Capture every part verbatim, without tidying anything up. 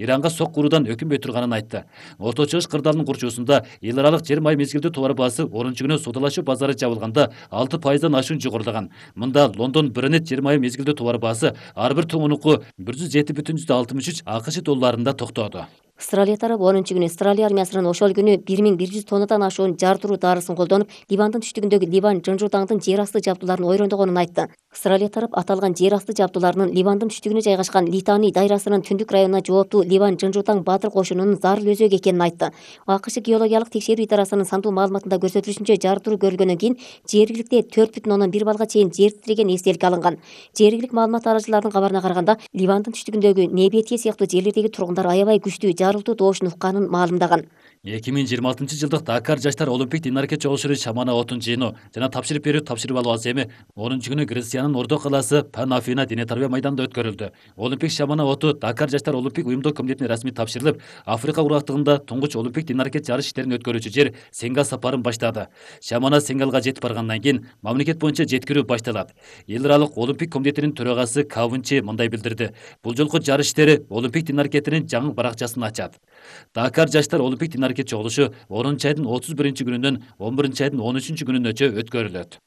Иранга сок куруудан өкүнбөй турганын айтты. Орто Чыгыш кырдаалынын курчоосунда эл аралык жер май мезгилдүү товар баасы орунчу күнү соодалашуу базары жабылганда алты пайыздан ашуун жогорулаган. Мында Лондон Брент жер май мезгилдүү товар баасы ар бир тоңунуку бир жүз жети бүтүн жүздөн алтымыш үч АКШ долларында токтоду. Австралия тарабы онунчу күнү Австралия армиясынын ошол күнү бир миң бир жүз тоннадан ашуун жар туруу дарысын колдонуп, Ливандын түштүгүндөгү Ливан Жынжутаңдын жер асты жабдууларын ойрондогонун айтты. Австралия тарап аталган жер асты жабдууларынын Ливандын түштүгүнө жайгашкан Литани дайрасынын түндүк районуна жооптуу Ливан Жынжутаң баатыр кошунунун зарыл өзөгү экенин айтты. АКШ геологиялык текшерүү идарасынын сандуу маалыматында көрсөтүлүшүнчө, жар туруу көрүлгөндөн кийин жергиликте төрт бүтүн ондон бир баллга чейин жер титиреген эстелик алынган. Жергилик маалымат арачыларынын кабарына караганда, Ливандын түштүгүндөгү Небетие сыяктуу жерлердеги тургундар аябай күчтүү жарылтуу добушун укканын маалымдаган. эки миң жыйырма алтынчы жылдык Дакар жаштар олимпик тенниске чогулушу Шамана отун жыйынуу жана тапшырып берүү тапшырып алуу эми онунчу күнү Грекиянын Ордо калаасы Пан Афина дене тарбия майданында өткөрүлдү. Олимпик Шамана оту Дакар жаштар олимпик уюмдук комитетине расмий тапшырылып, Африка курактыгында туңгуч олимпик тенниске жарыш иштерин өткөрүүчү жер Сенгал сапарын баштады. Шамана Сенгалга жетип баргандан кийин мамлекет боюнча жеткирүү башталат. Эл аралык олимпик комитетинин төрагасы Кавынчы мындай билдирди: бул жолку жарыш иштери олимпик теннисинин жаңы баракчасын ачат. Дакар жаштар олимпик тенниске чогулушу онунчу айдын отуз биринчи күнүнөн он биринчи айдын он үчүнчү күнүнөчө өткөрүлөт.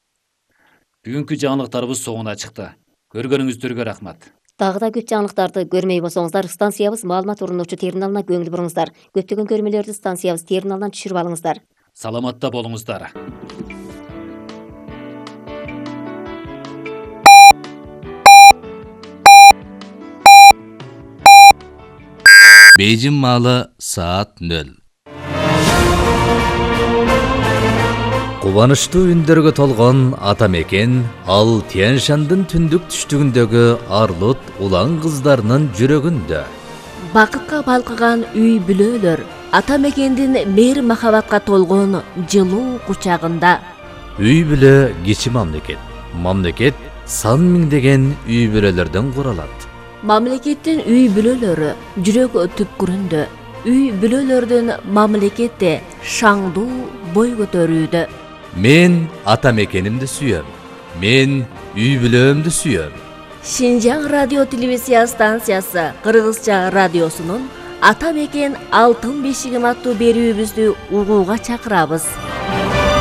Бүгүнкү жаңылыктарыбыз соңуна чыкты. Көргөнүңүздөргө рахмат. Дагы да көп жаңылыктарды көрмөй болсоңуздар, станциябыз маалымат орунуучу терминалына көңүл буруңуздар. Көптөгөн көрмөлөрдү станциябыз терминалынан түшүрүп алыңыздар. Саламатта болуңуздар. Бейжин маалы саат нөл. Кубанычтуу үндөргө толгон ата мекен ал Тянь-Шандын түндүк түштүгүндөгү арлут улан кыздарынын жүрөгүндө. Бакытка балкыган үй бүлөлөр ата мекендин мейир махабатка толгон жылуу кучагында. Үй бүлө кичи мамлекет. Мамлекет сан миңдеген үй бүлөлөрдөн куралат. Мамлекеттин үй бүлөлөрү жүрөк түпкүрүндө. Үй бүлөлөрдүн мамлекетте шаңдуу бой көтөрүүдө. Мен ата мекенимди сүйөм. Мен үй бүлөмдү сүйөм. Шинжаң радио телевизия станциясы Кыргызча радиосунун Ата мекен алтын бешигим аттуу берүүбүздү угууга чакырабыз.